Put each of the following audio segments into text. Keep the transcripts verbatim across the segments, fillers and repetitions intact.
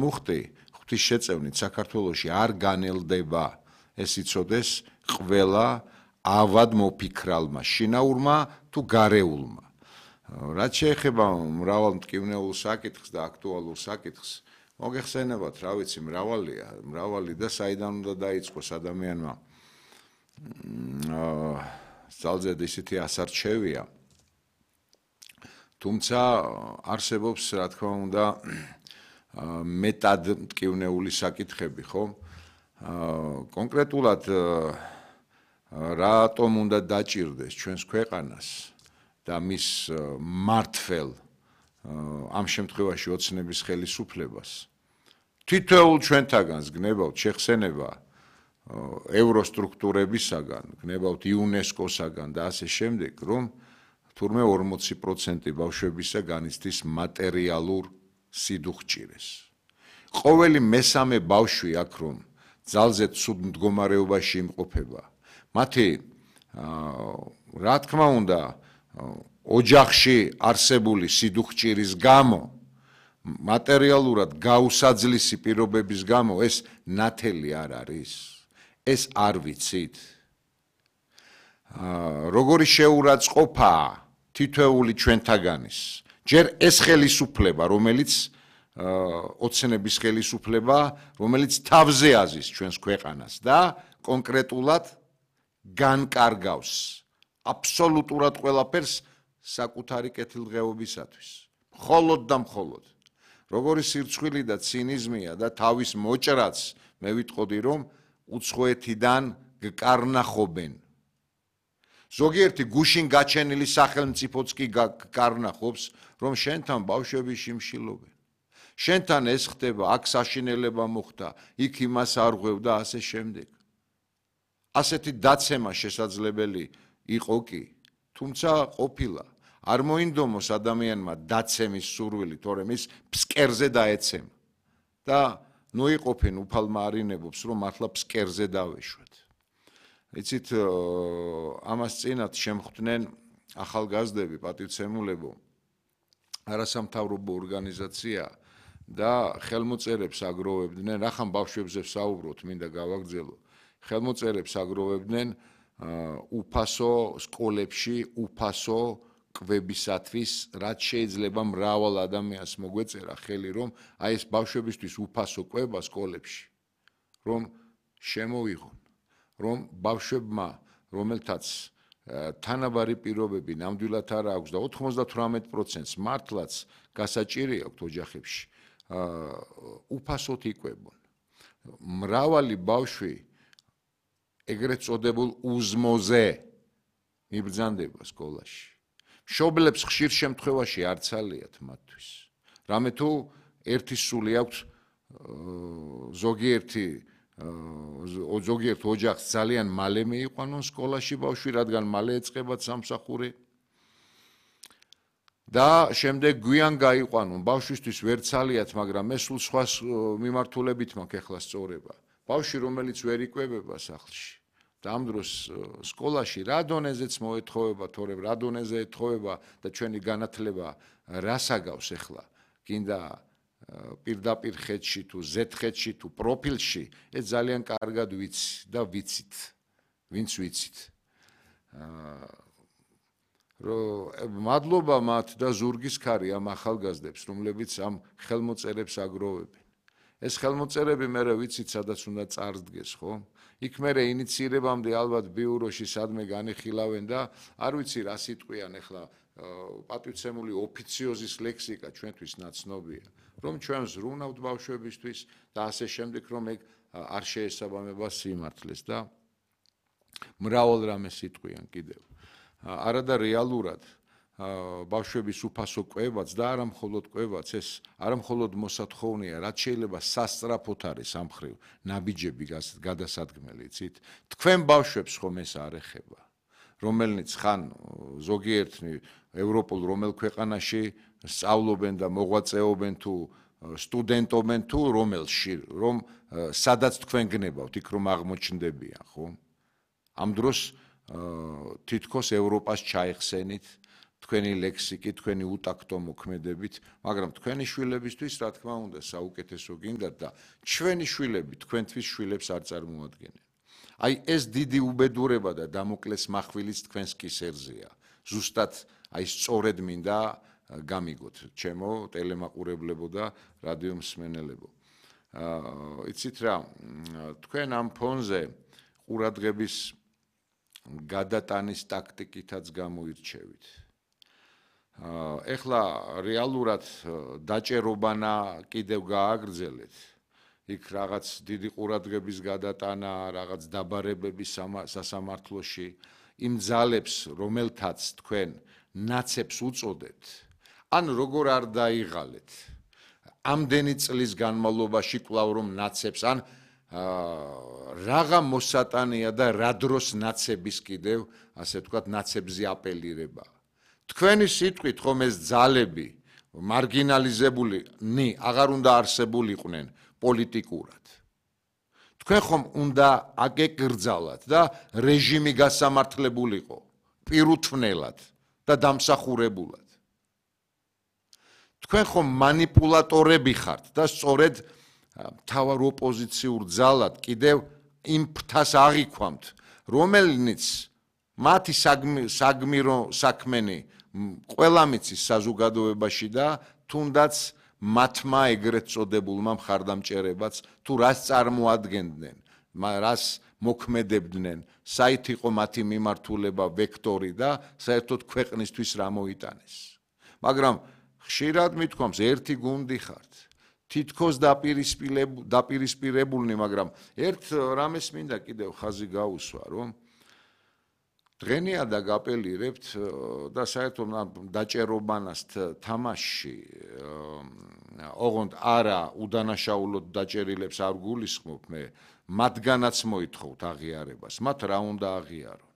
მუხტი ღვთის შეწევნით საქართველოში არ განელდება ეს იცოდეს ყველა ავად მოფიქრალმა შინაურმა თუ გარეულმა რაც შეეხება მრავალ მტკივნეულ საკითხს და აქტუალურ საკითხს მოგეხსენებათ რა ვიცი მრავალია მრავალი და საიდან უნდა დაიწყოს ადამიანმა ძალზედ ისეთი ასარჩევია თუმცა არსებობს რა თქმა უნდა მეტად მტკივნეული საკითხები ხო კონკრეტულად რატომ უნდა დაჭირდეს ჩვენს ქვეყანას და მის მართლ ამ შემთხვევაში ოცნების ხელისუფლებას თითოეულ ჩვენთაგანს გნებავთ შეხსენება ევროსტრუქტურებისაგან გნებავთ იუნესკოსაგან და ასე შემდეგ რომ თურმე ორმოცი პროცენტი ბავშვებისა განიცდის მატერიალურ სიდუხჭირეს ყოველი მესამე ბავშვი აქ რომ ძალზედ ცუდ მდგომარეობაში იმყოფება მათი რა თქმა უნდა ოჯახში არსებული სიდუხჭირის გამო მატერიალურად გაუსაძლისი პირობების გამო ეს ნათელი არ არის ეს არ ვიცით როგორი შეურაცხყოფაა თითოეული ჩვენთაგანის ჯერ ეს ხელისუფლება რომელიც ოცნების ხელისუფლება რომელიც თავზე აზის ჩვენს ქვეყანას და კონკრეტულად განკარგავს აბსოლუტურად ყველაფერს საკუთარი კეთილდღეობისათვის მხოლოდ და მხოლოდ როგორი სირცხვილი და ცინიზმია და თავის მოჭრაც მე ვიტყოდი რომ უცხოეთიდან გკარნახობენ ზოგიერთი გუშინ გაჩენილი სახელმწიფოც კი გკარნახობს რომ შენთან ბავშვები შიმშილობენ შენთან ეს ხდება აქ საშინელება მოხდა იქ იმას არღვევ და ასე შემდეგ ასეთი დაცემა შესაძლებელი იყო კი თუმცა ყოფილა არ მოინდომოს ადამიანმა დაცემის სურვილი თორემ ის ფსკერზე დაეცემა და ნუ იყოფენ უფალ მარინებობს რომ მართლა ფსკერზე დავეშვათ იცით ამას წინათ შემხვდნენ ახალგაზრდები პატივცემულებო არასამთავრობო ორგანიზაცია და ხელმოწერებს აგროვებდნენ რახან ბავშვებზე ვსაუბრობთ მინდა გავაგრძელო ხელმოწერებს აგროვებდნენ უფასო სკოლებში უფასო კვებისათვის რაც შეიძლება მრავალ ადამიანს მოგვეწერა ხელი რომ აი ეს ბავშვებისთვის უფასო კვება სკოლებში რომ შემოვიღონ რომ ბავშვებმა რომელთაც თანაბარი პირობები ნამდვილად არ აქვს და ოთხმოცდათვრამეტ პროცენტს მართლაც გასაჭირი აქვს ოჯახებში უფასოდ იკვებონ მრავალი ბავშვი ეგრეთ წოდებულ უზმოზე მიბრძანდება სკოლაში მშობლებს ხშირ შემთხვევაში არ ცალიათ მათთვის რამე თუ ერთი სული აქვს ზოგიერთი ზოგიერთ ოჯახს ძალიან მალე მიიყვანონ სკოლაში ბავშვი რადგან მალე ეწყებათ სამსახური და შემდეგ გვიან გაიყვანონ ბავშვისთვის ვერ ცალიათ მაგრამ ეს სულ სხვა მიმართულებით მაქვს ახლა სწორება ბავშვი რომელიც ვერ იკვებება სახლში და ამ დროს სკოლაში რა დონეზეც მოეთხოვება თორემ რა დონეზე ეთხოვება და ჩვენი განათლება რას აგავს ახლა გინდა პირდაპირ ხედში თუ ზედხედში თუ პროფილში ეს ძალიან კარგად ვიცი და ვიცით ვინც ვიცით რომ მადლობა მათ და ზურგის ქარი ამ ახალგაზრდებს რომლებიც ამ ხელმოწერებს აგროვებენ ეს ხელმოწერები მე ვიცით სადაც უნდა წარდგეს ხო იქ მე ინიციირებამდე ალბათ ბიუროში სადმე განიხილავენ და არ ვიცი რა სიტყვიან ახლა პატივცემული ოფიციოზის ლექსიკა ჩვენთვის ნაცნობია რომ ჩვენ ზრუნავთ ბავშვებისთვის და ასე შემდეგ რომ ეგ არ შეესაბამება სიმართლეს და მრავალ რამე სიტყვიან კიდევ არადა რეალურად ბავშვების უფასო კვებაც და არა მხოლოდ კვებაც ეს არა მხოლოდ მოსათხოვნია რაც შეიძლება სასწრაფოდ არის ამ ხრივ ნაბიჯები გადასადგმელი იცით თქვენ ბავშვებს ხომ ეს არ ეხება რომელნიც ხან ზოგიერთი ევროპულ რომელ ქვეყანაში სწავლობენ და მოღვაწეობენ თუ სტუდენტობენ თუ რომელში რომ სადაც თქვენ გნებავთ იქ რომ აღმოჩნდებიან ხო ამ დროს თითქოს ევროპას ჩაიხსენით თქვენი ლექსიკი, თქვენი უტაქტო მოქმედებით, მაგრამ თქვენი შვილებისთვის, რა თქმა უნდა, საუკეთესო გინდათ და ჩვენი შვილები თქვენთვის შვილებს არ წარმოადგენენ. აი ეს დიდი უბედურება და დამოკლეს מחვილიც თქვენს კისერზეა. ზუსტად აი სწორედ მინდა გამიგოთ, ჩემო ტელემაყურებლებო და რადიო მსმენელებო. აა იცით რა, თქვენ ამ ფონზე ყურადღების გადატანის ტაქტიკითაც გამოირჩევით. ეხლა რეალურად დაჭერობანა კიდევ გააგრძელეთ. იქ რაღაც დიდი ყურადღების გადატანა, რაღაც დაბარებების სასამართლოში, იმ ძალებს, რომელთაც თქვენ ნაცებს უწოდებთ, ან როგორ არ დაიღალეთ. ამდენი წლის განმავლობაში კვლავ რომ ნაცებს, ან რაღა მოსატანია და რა დროს ნაცების კიდევ, ასე ვთქვათ, ნაცებზე აპელირება. თქვენი სიტყვით ხომ ეს ძალები მარგინალიზებულნი აღარ უნდა არსებულიყვნენ პოლიტიკურად. თქვენ ხომ უნდა აკეკრძალათ და რეჟიმი გასამართლებულიყო პირუთვნელად და დამსახურებულად. თქვენ ხომ მანიპულატორები ხართ და სწორედ მთავარ ოპოზიციურ ძალად კიდევ იმ ფთას აღიქვამთ, რომელნიც მათი საგმირო საქმენი ყველა მიცის საზოგადოებაში და თუნდაც მათმა ეგრეთ წოდებულმა მხარდამჭერებაც თუ რას წარმოადგენდნენ, რას მოქმედებდნენ, საით იყო მათი მიმართულება, ვექტორი და საერთოდ ქვეყნისთვის რა მოიტანეს. მაგრამ ხშირად მithქვამს, ერთი გუნდი ხართ. თითქოს დაპირისპირებულნი, მაგრამ ერთ რამეს მინდა კიდევ ხაზი გაუსვა, რომ დღენია და გაპელირებთ და საერთოდ დაჭერობანას თამაში ოღონდ არა უდანაშაულოდ დაჭერილებს არ გულისხმობ მე, მათგანაც მოითხოვთ აღიარებას, მათ რა უნდა აღიარონ.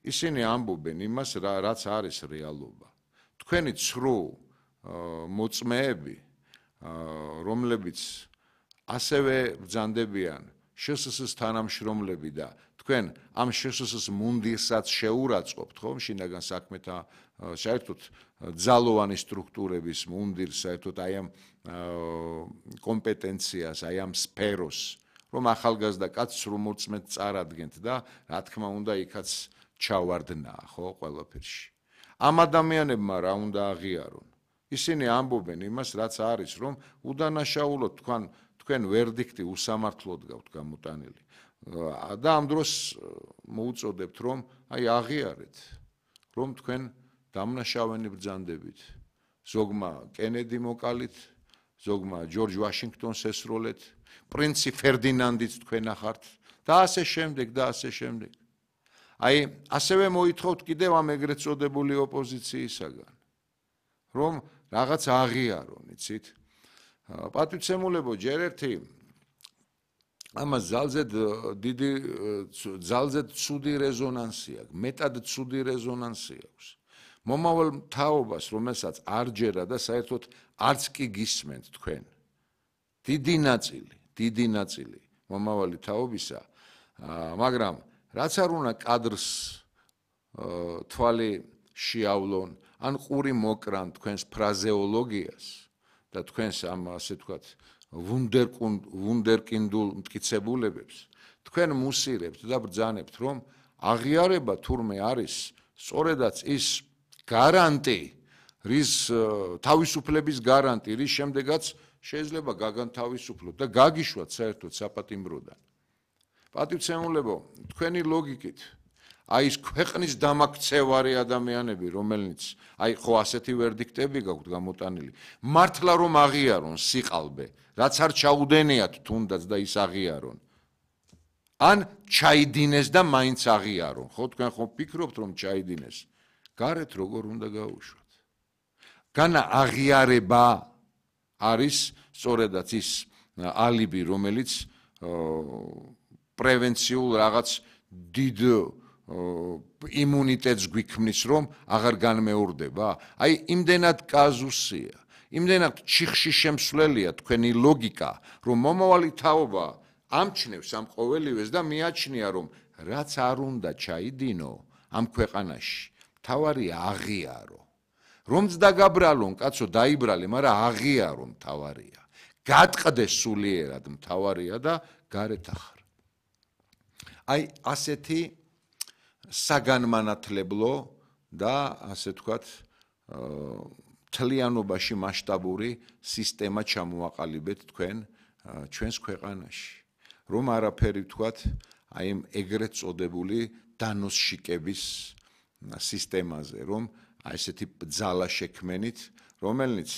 ისინი ამბობენ იმას, რაც არის რეალობა. თქვენი ცრუ მოწმეები, რომლებიც ასევე ბრძანდებიან შსს თანამშრომლები და თქვენ ამ შსს მუნდირსაც შეურაცხყოფთ, ხომ, შინაგან საქმეთა საერთოდ ძალოვანი სტრუქტურების მუნდირს, საერთოდ აი ამ კომპეტენციას, აი ამ სფეროს, რომ ახალგაზრდა კაცს რომ მოწმეთ წარადგენთ და რა თქმა უნდა იქაც ჩავარდნაა, ხო, ყველაფერში. ამ ადამიანებმა რა უნდა აღიარონ? ისინი ამბობენ იმას, რაც არის, რომ უდანაშაულოდ თქვენ თქვენ ვერდიქტი უსამართლოდ გაქვთ გამოტანილი. და ამ დროს მოუწოდებთ, რომ აი აღიარეთ, რომ თქვენ დამნაშავენი ბრძანდებით. ზოგმა კენედი მოკალით, ზოგმა ჯორჯ ვაშინგტონს ესროლეთ, პრინცი ფერდინანდიც თქვენ ახართ და ასე შემდეგ და ასე შემდეგ. აი, ასევე მოითხოვთ კიდევ ამ ეგრეთ წოდებული ოპოზიციისაგან, რომ რაღაც აღიარონ, იცით? პატივცემულებო, ჯერ ერთი ამას ძალზედ დიდი ძალზედ ცუდი რეზონანსი აქვს, მეტად ცუდი რეზონანსი აქვს. მომავალ თაობას, რომელსაც არ ჯერა და საერთოდ არც კი გისმენთ თქვენ. დიდი ნაწილი, დიდი ნაწილი მომავალი თაობისა, მაგრამ რაც არ უნდა კადრს თვალი შეავლონ, ან ყური მოკრან თქვენს ფრაზეოლოგიას და თქვენს ამ ასე ვთქვათ ვუნდერკინდულ მტკიცებულებებს, თქვენ მუსირებთ და ბრძანებთ, რომ აღიარება თურმე არის სწორედაც ის გარანტი, რის თავისუფლების გარანტი, რის შემდეგაც შეიძლება გაგანთავისუფლოთ და გაგიშვათ საერთოდ საპატიმროდან. პატივცემულებო, თქვენი ლოგიკით, აი ეს ქვეყნის დამაქცევარი ადამიანები, რომელნიც აი ხო ასეთი ვერდიქტები გაქვთ გამოტანილი, მართლა რომ აღიარონ სიყალბე, რაც არ ჩაუდენიათ თუნდაც და ის აღიარონ. ან ჩაიდინეს და მაინც აღიარონ. ხო, თქვენ ხო ფიქრობთ რომ ჩაიდინეს? გარეთ როგორ უნდა გაუშვათ? განა აღიარება არის სწორედაც ის ალიბი, რომელიც პრევენციულ რაღაც დიდ იმუნიტეტს გვიქმნის, რომ აღარ განმეორდება. აი, იმდენად კაზუსია, იმდენად ჩიხში შემსვლელია თქვენი ლოგიკა, რომ მომავალი თაობა ამჩნევს ამ ყოველივეს და მიაჩნია, რომ რაც არ უნდა ჩაიდინო ამ ქვეყანაში, თავარია აღიარო. რომც დაგაბრალონ, კაცო დაიბრალე, მაგრამ აღიარო თავარია. გატყდეს სულიერად თავარია და გარეთ ახარ. აი ასეთი საგანმანათლებლო და ასე თქვათ მთლიანობაში მასშტაბური სისტემა ჩამოაყალიბეთ თქვენ ჩვენს ქვეყანაში. რომ არაფერი ვთქვათ, აი ამ ეგრეთ წოდებული დანოსშიკების სისტემაზე, რომ აი ესეთი ბძალა შექმენით, რომელიც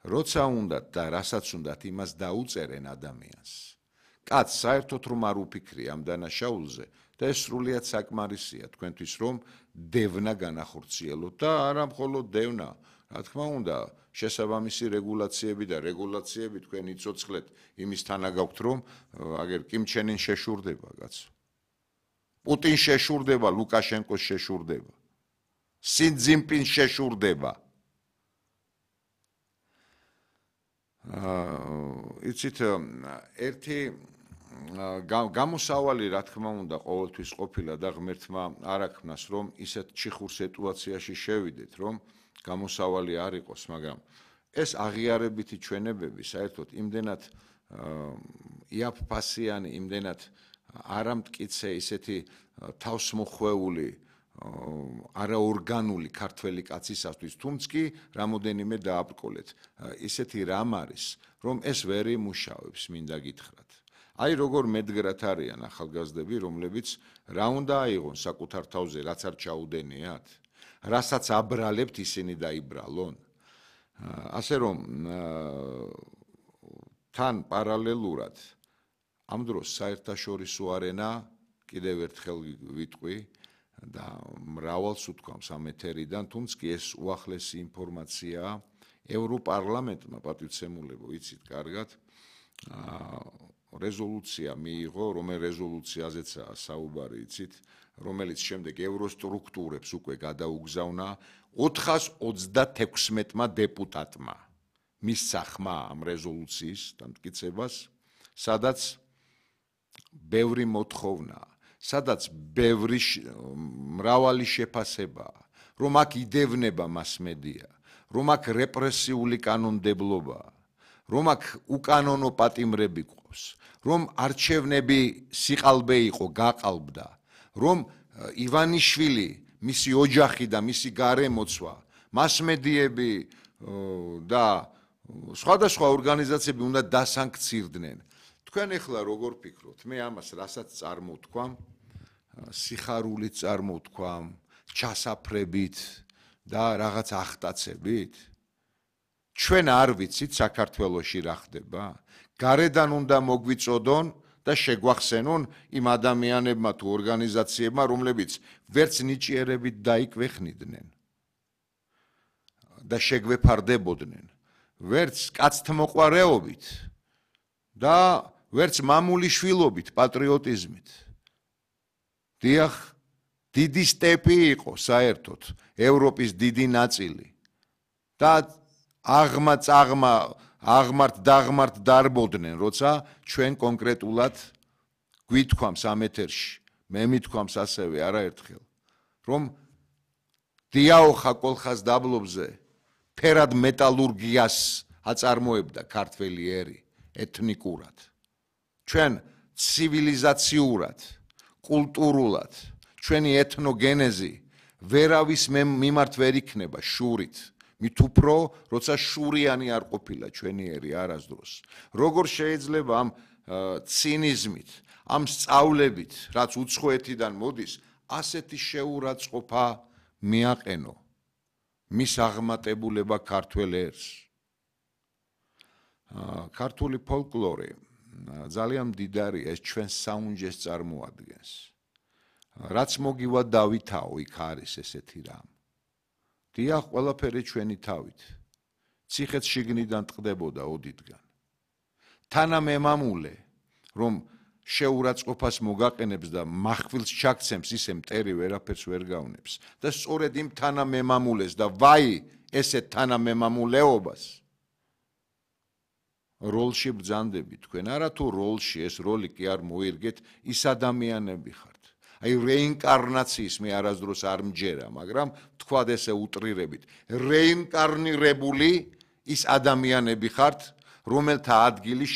როცა უნდათ და რასაც უნდათ იმას დაუწერენ ადამიანს. კაც საერთოდ რომ არ უფიქრია ამ დანაშაულზე და ეს სრულიად საკმარისია თქვენთვის რომ დევნა განახორციელოთ და არა მხოლოდ დევნა, რა თქმა უნდა, შესაბამისი რეგულაციები და რეგულაციები თქვენ იცოცხლეთ იმის თანაგაქვთ რომ აგერ კიმ ჩენ ინ შეშურდება კაცო. პუტინ შეშურდება, ლუკაშენკოს შეშურდება. სი ძინპინ შეშურდება. იცით ერთი გამოსავალი რა თქმა უნდა ყოველთვის ყოფილა და ღმერთმა არ აქმნას რომ ისეთ ჩიხურ სიტუაციაში შევიდეთ რომ გამოსავალი არ იყოს, მაგრამ ეს აღიარებითი ჩვენებები საერთოდ იმდენად იაფფასიანი, იმდენად არამტკიცე ისეთი თავსმოხვეული არაორგანული ქართველი კაცისათვის, თუმც კი რამოდენიმე დააბრკოლეთ. ისეთი რამ არის, რომ ეს ვერ იმუშავებს, მინდა გითხრათ. აი როგორ მედგრად არიან ახალგაზრდები, რომლებიც რა უნდა აიღონ საკუთარ თავზე, რაც არ ჩაუდენიათ, რასაც აბრალებთ ისინი დაიბრალონ. ასე რომ თან პარალელურად ამ დროს საერთაშორისო არენა კიდევ ერთხელ ვიტყვი და მრავალს უთქვამს ამ ეთერიდან, თუმც კი ეს უახლესი ინფორმაციაა ევროპარლამენტმა პატივცემულებო, იცით კარგად, რეზოლუცია მიიღო, რომელ რეზოლუციაზეცაა საუბარი, იცით, რომელიც შემდეგ ევროსტრუქტურებს უკვე გადაუგზავნა ოთხას ოცდათექვსმეტმა დეპუტატმა მისცა ხმა ამ რეზოლუციის დამტკიცებას, სადაც ბევრი მოთხოვნაა, სადაც ბევრი მრავალი შეფასებაა, რომ აქ იდევნება მასმედია, რომ აქ რეპრესიული კანონმდებლობაა, რომ აქ უკანონო პატიმრები ყავს, რომ არჩევნები სიყალბე იყო, გაყალბდა, რომ ივანიშვილი, მისი ოჯახი და მისი გარემოცვა, მასმედიები და სხვადასხვა ორგანიზაციები უნდა დასანქცირდნენ. თქვენ ახლა როგორ ფიქრობთ? მე ამას რასაც წარმოვთქვამ, სიხარულით წარმოვთქვამ, ჩასაფრებით და რაღაც ახტაცებით? ჩვენ არ ვიცით საქართველოში რა ხდება? გარედან უნდა მოგვიწოდონ და შეგვახსენონ იმ ადამიანებმა თუ ორგანიზაციებმა, რომლებიც ვერც ნიჭიერებით დაიკვეხნიდნენ და შეგვეფარდებოდნენ, ვერც კაცთმოყვარეობით და ვერც მამული შვილობით, პატრიოტიზმით. დიახ, დიდი სტეპი იყო საერთოდ, ევროპის დიდი ნაწილი და აღმა წაღმა აღმართ დაღმართ დარბოდნენ, როცა ჩვენ კონკრეტულად გვითქვამს ამ ეთერში, მე მithქვამს ასევე არაერთხელ, რომ დიაოხა კოლხას დაბლობზე ფერად მეტალურგიას აწარმოებდა ქართველი ერი ეთნიკურად. ჩვენ ცივილიზაციურად, კულტურულად, ჩვენი ეთნოგენეზი ვერავის მიმართ ვერ იქნება შურით. მით უფრო, როცა შურიანი არ ყოფილა ჩვენი ერი არასდროს. როგორ შეიძლება ამ ცინიზმით, ამ სწავლებით, რაც უცხოეთიდან მოდის, ასეთი შეურაცხყოფა მიაყენო მის აღმატებულება ქართველ ერს. ქართული ფოლკლორი ძალიან მდიდარია, ეს ჩვენ საუნჯეს წარმოადგენს. რაც მოგივა დავითაო, იქ არის ესეთი რამ. დიახ, ყველაფერი ჩვენი თავით. ციხეც შიგნიდან ტყდებოდა ოდითგან. თანამემამულე, რომ შეურაცხყოფას მოგაყენებს და מחვილს ჩაქცემს, ისე მტერი ვერაფერს ვერ გავნებს. და სწორედ იმ თანამემამულეს და ვაი ესეთ თანამემამულეობას როლში ბრძანდები თქვენ. არა თუ როლში, ეს როლი კი არ მოირგეთ, ის ადამიანები ხართ. აი რეინკარნაციის მე არასდროს არ მჯერა, მაგრამ თქვათ ესე უტრირებით, რეინკარნირებული ის ადამიანები ხართ, რომელთა ადგილი